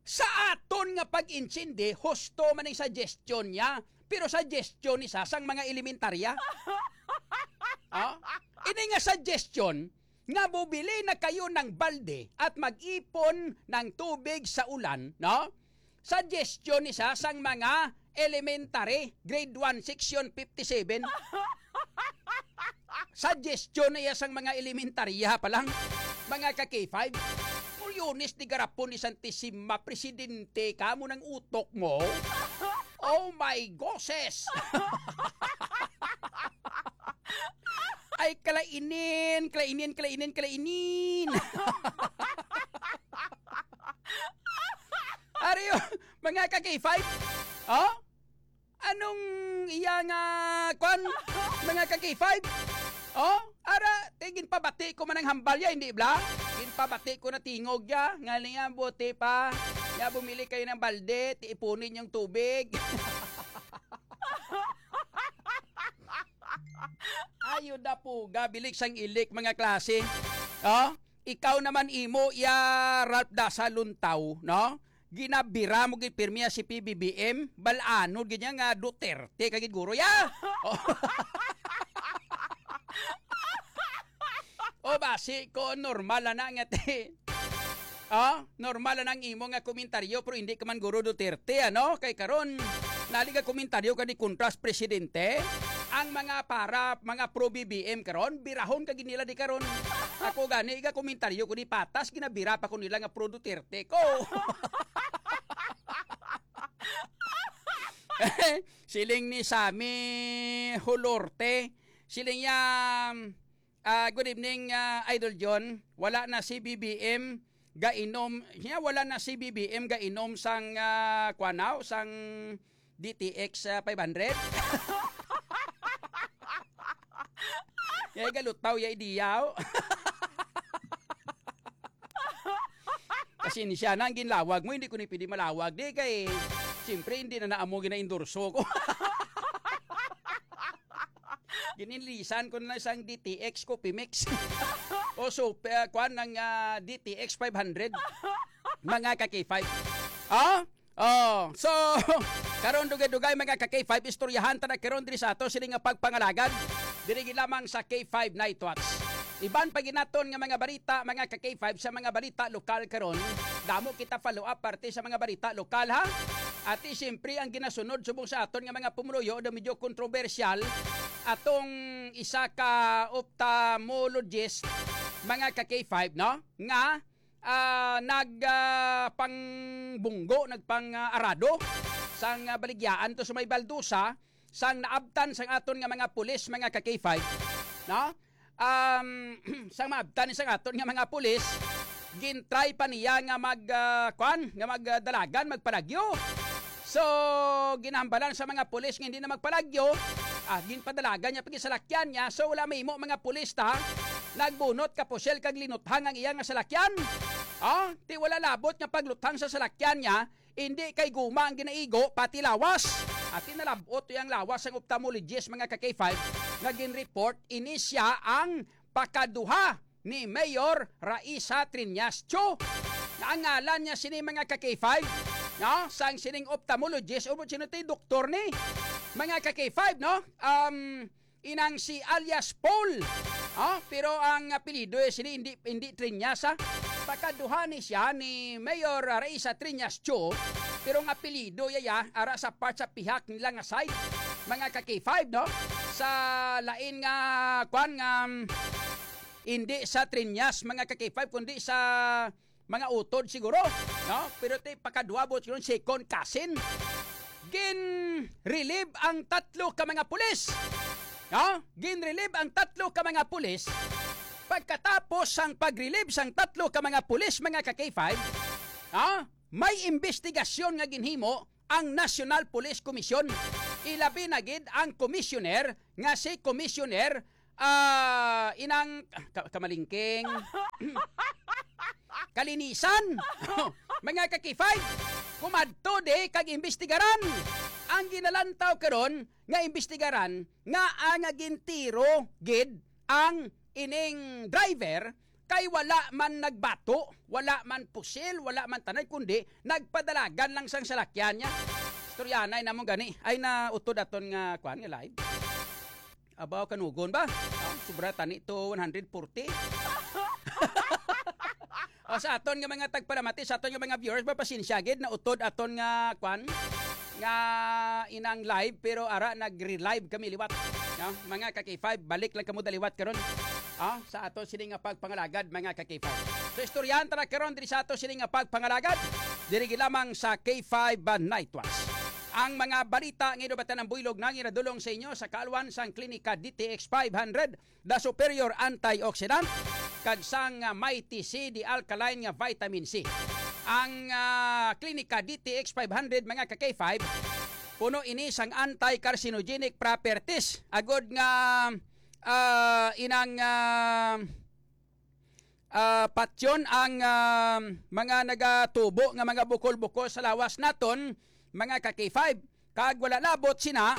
Sa aton nga pag-intindi, husto man ang suggestion niya. Pero suggestion ni sa sang mga elementarya. Oh? Ini nga suggestion nga bubili na kayo ng balde at mag-ipon ng tubig sa ulan, no? Suggestion ni sa sang mga elementary, grade one, section fifty-seven. Suggestion na iya sang mga elementarya pa lang, mga ka-K five. Pulyones ni garapon ni Santisima, presidente ka mo ng utok mo. Oh my gosses! Ay, kalainin, kalainin, kalainin, kalainin. Ariyo, mga ka-K five? Oh? Anong iya nga, kwan, mga ka-K five? Oh, ara, ti ginpabati ko man ang hambal ya, hindi bla? Ginpabati ko na tingog ya, nga niya, buti pa. Ya, bumili kayo ng balde, ti ipunin yung tubig. Ayo na po, gabilik sang ilik, mga klase. Oh, ikaw naman imo, ya, Ralph Dasa Luntaw, no? Ginabira mo gid pirmi si P B B M, bal-ano gid niya nga Duterte ka gid guro ya. O, o basi ko normal na nga ti. Oh, normal na ang imo nga komentaryo pero hindi ka man guro Duterte, ano? Kay karon naliga komentaryo ka ni kontras presidente. Ang mga para, mga pro B B M karon, birahon ka gid nila di karon. Ako gani, iga komentaryo ko di patas, ginabira pa ko nila nga pro Duterte ko. Siling ni Sammy Hulorte, siling niya, ah, good evening, ah, Idol John. Wala na si B B M gainom, niya wala na si B B M gainom sang, ah, kwanaw, sang D T X, ah, five hundred. Kaya galutaw ya idiyaw. Pasensya na, ang ginlawag mo, hindi ko ni pwede malawag. Di kay, siyempre, hindi na naamo gina-endorso ko. Gininlisan ko na lang sang D T X Coffee Mix. O so, uh, kuan ng, ah, D T X five hundred. Mga ka-K five. Ah? Oh, so, karon dugay-dugay, mga ka-K five, istoryahan ta na karon diri sa ato sini nga pagpangalagad. Diri gid lamang sa K five Night Watch. Iban pa ginaton nga mga balita, mga ka-K five, sa mga balita lokal karon. Damo kita follow up parte sa mga balita lokal, ha? At siyempre, ang ginasunod subong sa aton nga mga pumuluyo, do medyo kontrobersyal, atong isa ka ophthalmologist, mga ka-K five, no? Nga ah, nag, ah, pangbunggo, nagpang, ah, arado sang, ah, baligyaan to sa may baldusa, sang naabtan sang aton nga mga pulis, mga ka-K five, no? Um, sang maabtan sang aton nga mga pulis, gintry pa niya nga mag, ah, kwan, nga mag, ah, dalagan, magpalagyo. So, ginahambalan sa mga pulis nga hindi na magpalagyo, ah, ginpadalagan niya pag salakyan niya. So, wala mahimo mga pulis ta. Nagbunot ka pusil kag linuthang ang iya nga salakyan. Ah, ti wala labot nga pagluthang sa salakyan niya, hindi kay guma ang ginaigo, pati lawas. At tinalabot ang lawas sang ophthalmologist, mga ka-K five, nga ginreport ini siya ang pakaduha ni Mayor Raisa Triñas Cho. Nga ang ngalan niya sini, mga ka-K five, no? Sang sining ophthalmologist, o sino ti doktor ni? Mga ka-K five, no? Um, inang si alias Paul. Ah, pero ang apelyido, eh, sini hindi, hindi Triñas, ha? Pakaduha ni siya ni Mayor Raisa Triñas Cho, pero ang apelyido ya, ya, ara sa part sa pihak nila nga side, mga ka-K five, no? Sa lain nga, kwan nga, um, Hindi sa Triñas, mga ka-K five, kundi sa mga utod siguro, no? Pero ti pakaduwabot siguro, second cousin. Gin-relieve ang tatlo ka mga pulis. No? Gin-relieve ang tatlo ka mga pulis. Pagkatapos sang pag-relieve sang tatlo ka mga pulis, mga ka-K five, no? May imbestigasyon nga ginhimo ang National Police Commission. Ilabi na gid ang commissioner nga si Commissioner, ah, inang, ka-, kamalingking. Kalinisan. Mga ka-K five, kumadto di kag imbestigaran. Ang ginalantaw karon nga imbestigaran nga ang gintiro gid ang ining driver kay wala man nagbato, wala man pusil, wala man tanay, kundi nagpadalagan lang sang salakyan niya. Istoryanay namon gani. Ay, nautod aton nga, kuan, nga live. Abaw, kanugon ba? Ah, sobra tani to one hundred forty. O, sa aton nga mga tagpalamati, sa aton nga mga viewers, mapasensya gid, nautod aton nga, kwan, nga inang live, pero ara, nag-relive kami liwat. No? Mga ka-K five, balik lang kamo daliwat karon. Ah, sa ato sini nga pagpangalagad, mga ka-K five. So, istoryahan ta na karon diri sa ato sini nga pagpangalagad, diri gid lamang sa K five Night Watch. Ang mga balita nga inubatan ang buylog na ginadulong sa inyo sa kaalwan sang Klinika D T X five hundred, The Superior Antioxidant, kag sang, ah, Mighty C, The Alkaline nga Vitamin C. Ang, ah, Klinika D T X five hundred, mga ka-K five, puno ini sang anti-carcinogenic properties. Agod nga, ah, inang, ah, ah, patyon ang, ah, mga nagatubo nga mga bukol-bukol sa lawas naton, mga ka-K five. Kag wala labot sina,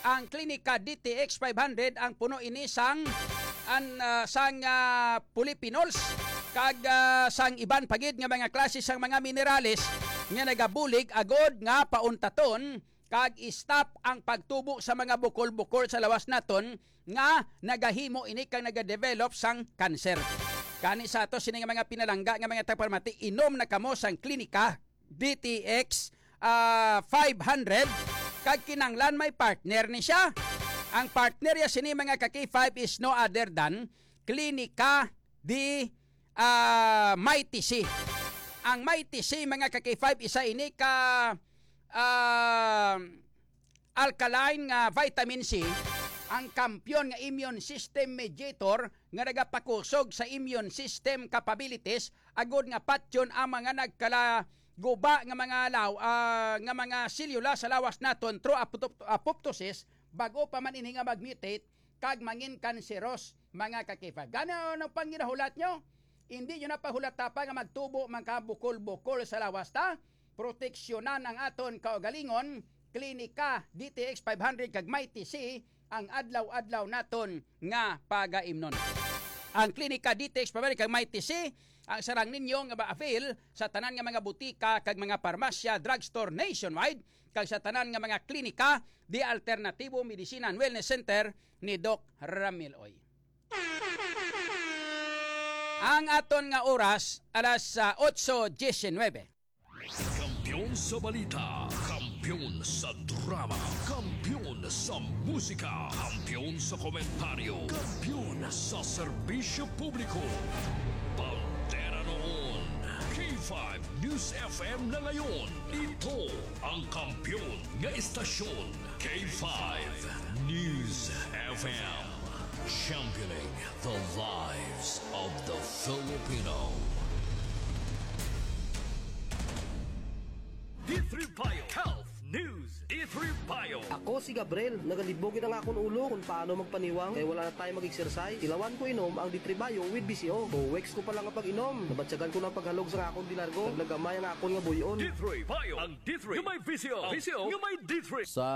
ang Klinika D T X five hundred ang puno ini sang, an, ah, sang, ah, polyphenols kag, ah, sang iban pa gid nga mga klase sang mga minerales nga nagabulig agod nga pauntaton kag i-stop ang pagtubo sa mga bukol-bukol sa lawas naton nga nagahimo ini kag nagadevelop sang kanser. Gani sa ato sini nga mga pinalangga nga mga tagpalamati, inom na kamo sang Klinika D T X, ah, five hundred, kag kinahanglan may partner ni siya. Ang partner ya sini, mga ka-K five, is no other than Klinika di, ah, Mighty C. Ang Mighty C, mga ka-K five, isa ini ka, ah, alkaline nga vitamin C, ang kampiyon nga immune system mediator nga nagapakusog sa immune system capabilities, agod nga patyon ang mga nagkalaguba nga mga law-, ah, nga mga selula sa lawas naton through apopto-, apoptosis, bag-o pa man ini nga mag-mutate kag mangin kanseros, mga ka-K five. Gani, ano pang ginahulat nyo? Hindi nyo na pahulata pa nga magtubo man ka bukol-bukol sa lawas ta. Proteksyonan ang aton kaugalingon, Klinika D T X five hundred kag Mighty C ang adlaw-adlaw naton nga pagaimnon. Ang Klinika D T X five hundred kag Mighty C ang sarang ninyo nga ma-avail sa tanan nga mga butika kag mga parmasya, drugstore nationwide, kag sa tanan nga mga klinika di Alternatibo Medicine and Wellness Center ni Doc Ramil Oy. Ang aton nga oras, alas, ah, otso diecinuebe. Kampiyon sa balita, kampiyon sa drama, kampiyon sa musika, kampiyon sa komentaryo, kampiyon sa serbisyo publiko. Bandera noon, K five News F M na ngayon. Ito ang kampiyon nga estasyon, K five News F M. Championing the lives of the Filipino. D three Bio Health News. D three Bio. Ako si Gabriel. Nagalibog gid ang akon ulo kung paano magpaniwang kay wala na tayo mag-exercise. Tilawan ko inom ang D three Bio with B C O. Two weeks ko pa lang nga pag-inom, nabatyagan ko na ang paghalog sa akon di largo. Naglagamay ang akon nga buy-on. D three Bio. Ang D three nga may B C O. Ang B C O nga may D three. Sa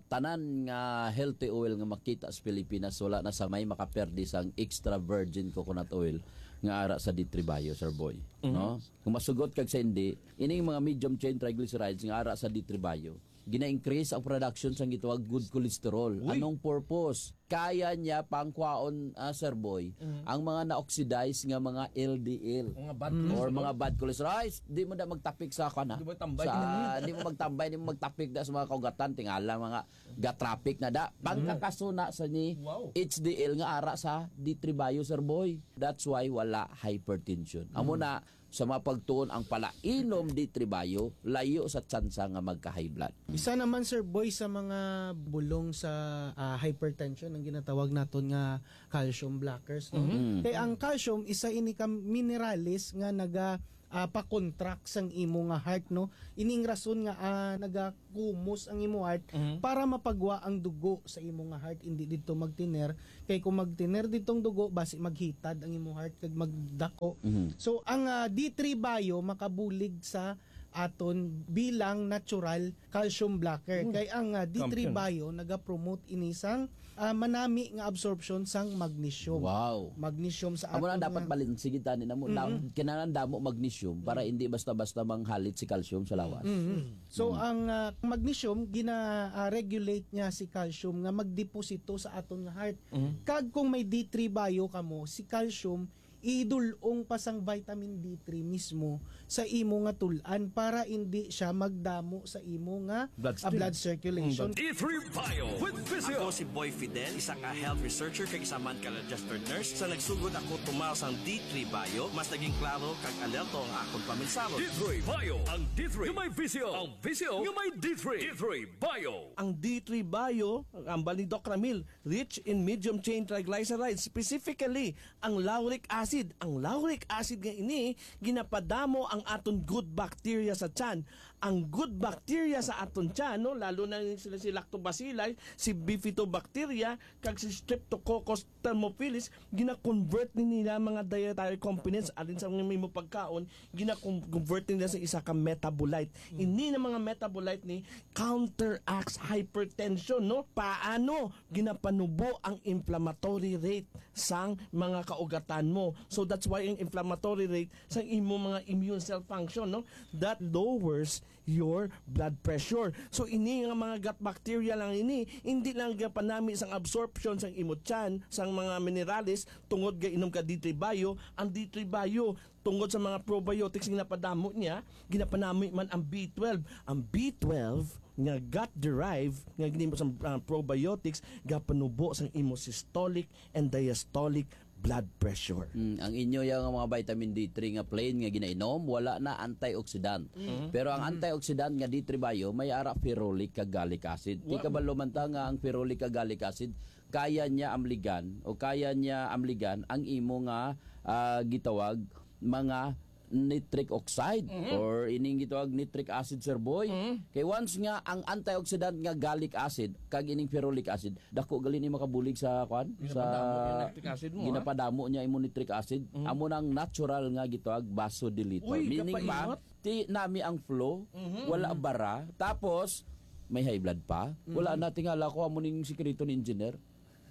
tanan nga healthy oil nga makita sa Pilipinas, wala na sa may makaperdi sang extra virgin coconut oil nga ara sa D three Bio, Sir Boy. Mhm. No? Kung masugot kag sa hindi, ining mga medium chain triglycerides nga ara sa D three Bio, gina-increase ang production sang gitawag good cholesterol. Uy. Anong purpose? kaya niya pangkwaon, ah, Sir Boy, Mm. ang mga na-oxidize nga mga L D L Mga bad Mm. or cholesterol. mga bad cholesterol. Ay, s-, di mo na magtapik sa, kuwan, ha? Di mo tambay. Sa, di mo magtambay, di mo magtapik da sa mga kaugatan, tingala mga ga-traffic na da. Mm. Pagkakasuna sa ni Wow. H D L nga ara sa D three Bio, Sir Boy. That's why wala hypertension. Amo Mm. na, sa mga pagtuon ang palainom D three Bio, layo sa tsansa nga magka-high blood. Isa naman, Sir Boy, sa mga bulong sa, ah, hypertension ang ginatawag naton nga calcium blockers, no? Mhm. Mm. Kay ang calcium, isa ini ka minerales nga naga, ah, pa-contract sang imo nga heart, no? Ining rason nga, ah, nagakumos ang imo heart Mhm. para mapagwa ang dugo sa imo nga heart, hindi didto magtiner. Kay kung magtiner didtong dugo, basi maghitad ang imo heart kag magdako. Mhm. So, ang, ah, D three Bio makabulig sa aton bilang natural calcium blocker. Hmm. Kay ang, ah, D three Champion. Bio nagapromote ini sang, ah, manami nga absorption sang magnesium. Wow. Magnesium sa Amo na aton dapat nga balanse gid tani namo. Na, Mm-hmm. kinahanglan damo magnesium para Mm. hindi basta-basta manghalit si calcium sa lawas. Mm-hmm. So, Mm. ang, ah, magnesium, gina, ah, regulate niya si calcium nga magdeposito sa aton nga heart. Mm. Kag kung may D three Bio kamo, si calcium idul-ong pa sang vitamin D three mismo sa imo nga tul-an para indi siya magdamo sa imo nga, ah, Bloodstream. blood circulation. Mm, D three Bio with Visio. Ako si Boy Fidel, isa nga health researcher kag isa man ka registered nurse. Sa nagsugod ako tumaw sang D three Bio, mas naging klaro kag alerto ang akon paminsaro. D three Bio, ang D three nga may visyo, ang visyo nga may D three. D three Bio. Ang D three Bio, ang ambal ni Doc Ramil, rich in medium chain triglycerides, specifically ang lauric acid. Ang lauric acid nga ini, ginapadamo ang aton good bacteria sa tiyan. Ang good bacteria sa aton tiyan, no, lalo na sila si lactobacilli, si bifidobacteria, kag si Streptococcus thermophilus, gina-convert ni nila mga dietary components alin sa mga imo pagkaon, gina-convert nila sa isa ka metabolite. Mm. Ini na mga metabolite ni counteracts hypertension, no? Paano ginapanubo ang inflammatory rate sang mga kaugatan mo. So that's why ang inflammatory rate sa imo mga immune cell function, no, that lowers your blood pressure. So ini nga mga gut bacteria lang ini, hindi lang gapanami sang absorption sang imo tiyan sang mga minerales tungod ga inom ka D three Bio. Ang D three Bio, tungod sa mga probiotics nga napadamo niya, ginapanami man ang B twelve. Ang B twelve nga gut-derived nga ginimo sa, ah, probiotics, gapanubo sang imo systolic and diastolic blood pressure. Mm, ang inyo yang mga vitamin D three nga plain nga ginainom, wala na antioxidant. Mm. Pero ang Mm. antioxidant nga D three Bio, may ara ferulic kag gallic acid. Ti Wa- kabalo man ta nga ang ferulic kag gallic acid, kaya niya amligan o kaya niya amligan ang imo nga, ah, gitawag mga nitric oxide Mhm. or ining gitawag nitric acid, Sir Boy. Mhm. Kay once nga ang antioxidant nga gallic acid kag ining ferulic acid, dako gali ni makabulig sa, kwan, Ginapadamo sa yung nitric acid mo, ha? ginapadamo niya imo nitric acid. Mhm. Amo nang natural nga gitawag vasodilator. Uy, Meaning pa, kapaingot. ti nami ang flow, Mhm, wala mhm. bara, tapos may high blood pa. Mhm. Wala na, tingala ko amo ning sikreto ni engineer.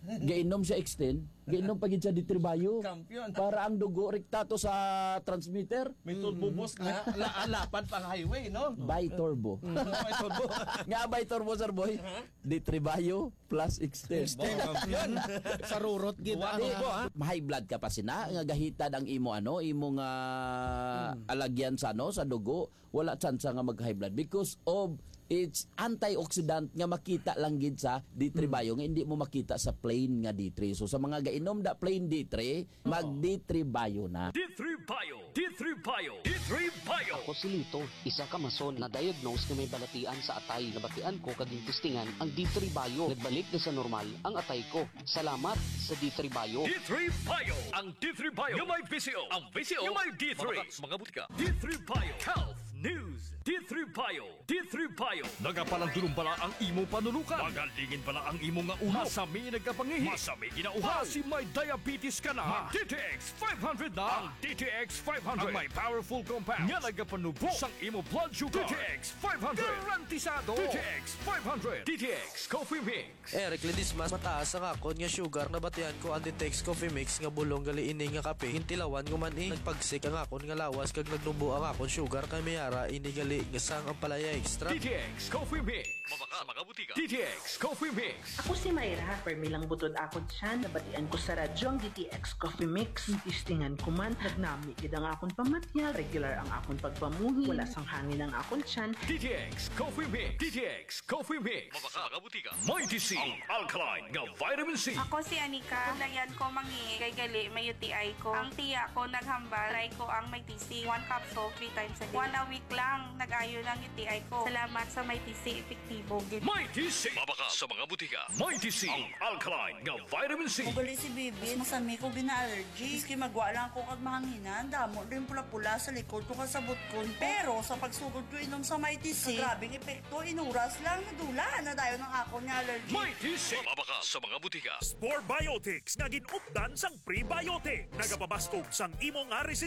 Gainom siya Extend, gainom pa gid siya D three Bio. Champion. Para ang dugo rekta to sa transmitter. May turbo Mm. boost na, la-, lapad pa ang highway, no? Bi-turbo. Mm, may turbo. Nga bi-turbo, Sir Boy? Ha? D three Bio plus Extend. Extend. Champion. Sa rurot gid Buwan ang ko, ha? Ma-high blood ka pa sina, nga gahitad ang imo, ano, imo nga Mm. alagyan sa, ano, sa dugo. Wala tsansa nga mag-high blood because of its antioxidant nga makita lang gid sa D three Mm. Bio nga hindi mo makita sa plain nga D three. So, sa mga gainom da plain D three, Oo. mag D three Bio na. D three Bio, D three Bio, D three Bio. Ako si Lito, isa ka mason na diagnose nga may balatian sa atay. Nabatian ko kag gintistingan ang D three Bio. Nagbalik na sa normal ang atay ko. Salamat sa D three Bio. D three Bio, ang D three Bio nga may visyo, ang visyo nga may D three. Mga, mga butika. D three Bio Health News. D three Bio. D three Bio. Nagapalandulong bala ang imo panulukan? Magalingin bala ang imo nga ulo? Masami nagkapangihi? Masami ginauhaw? Basi may diabetes ka na? Mag D T X five hundred na. Ang D T X five hundred. Ang may powerful compound nga nagapanubo sang imo blood sugar. D T X five hundred. Garantisado. D T X five hundred. D T X Coffee Mix. Eric Ledesma, mataas ang akon nga sugar. Nabatian ko ang Ditex Coffee Mix nga bulong gali ini nga kape. Gintilawan ko man, eh. Nagpagsik ang akon nga lawas kag nagnubo ang akon sugar kay may ara ini gali Gasang ampalaya extra. D T X Coffee Mix. Mabakal sa mga butika. D T X Coffee Mix. Ako si Myra, permi lang butod akon tiyan, nabatian ko sa radyo ang D T X Coffee Mix. Testingan ko man, nagnami gid ang akon pamatyag, regular ang akon pagpamuhi, wala sang hangin ang akon tiyan. D T X Coffee Mix. D T X Coffee Mix. Mabakal sa mga butika. Mighty C, ang alkaline nga vitamin C. Ako si Anika. Kung dayan ko mangi, kay gali may U T I ko. Ang tiya ko naghambal, try ko ang may T C. One capsule, three times a day. One a week lang, nag-ayo ng U T I ko. Salamat sa may T C, epektibo gid. Mighty C. Mabakal sa mga butika. Mighty C, ang alkaline nga vitamin C. Ugali si Bibi, mas masami ko gina-allergy. Maski magwa lang ko kag mahanginan, damo rin pula-pula sa likod ko kasabot ko. Pero sa pagsugod ko inom sa Mighty C, grabing epekto, inuras lang, nadula na dayon ang akon nga allergy. Mighty C. Mabakal sa mga butika. Spore Biotics nga gin-updan sang prebiotic. Nagapabaskog sang imo nga resistensya.